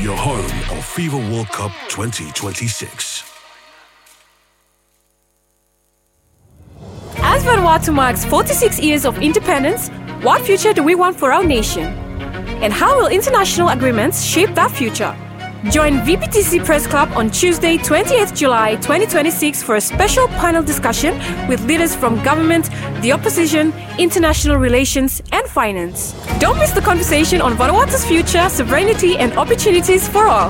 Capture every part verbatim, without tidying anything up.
The home of FIFA World Cup twenty twenty-six. As Vanuatu marks forty-six years of independence, what future do we want for our nation? And how will international agreements shape that future? Join V B T C Press Club on Tuesday, twentieth July twenty twenty-six, for a special panel discussion with leaders from government, the opposition, international relations, and finance. Don't miss the conversation on Vanuatu's future, sovereignty, and opportunities for all.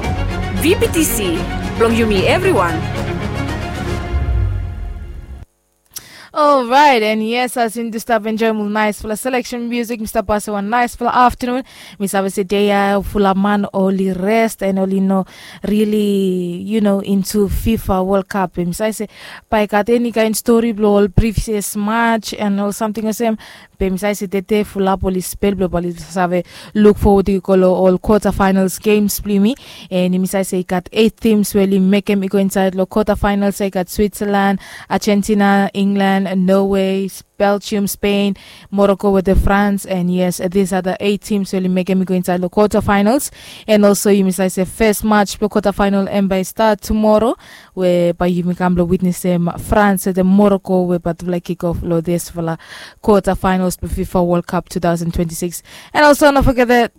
V B T C, blong yumi everyone. Alright, and yes, as yumi stap enjoem ol naesfala selection music, mi stap pasem wan naesfala aftanun. Mi save se dei ya fulap man oli rest and oli no really, you know, into FIFA World Cup. Mi save se bae i gat eni kaen stori blong ol previous match and ol samting olsem. Be mi save se tede fulap oli spel blong oli save luk fowod i go long ol quarter finals games blong yumi. And mi save se i gat eight teams we oli mekem i go insaed long quarter finals. I gat Switzerland, Argentina, England, Norway, Belgium, Spain, Morocco wetem France. And yes, these are the eight teams we oli mekem i go insaed long quarter finals. And also yumi save se first match blong quarter final hemia bae i stat tumoro, we bae yumi kam blong witnesem France wetem Morocco, we bae oli kick off long disfala quarter finals blong FIFA World Cup two thousand twenty-six. And also no fogetem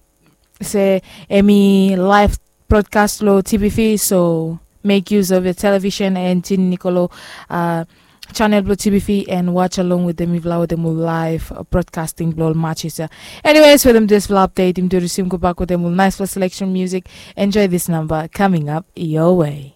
se hemi live broadcast long T V V, so make use of your television and tune in i go long channel blong T V V and watch along wetem mifala wetem ol live broadcasting blong ol matches ya. Anyways, wetem disfala update, yumi tu resume gobak wetem ol naesfala selection music. Enjoy this number coming up your way.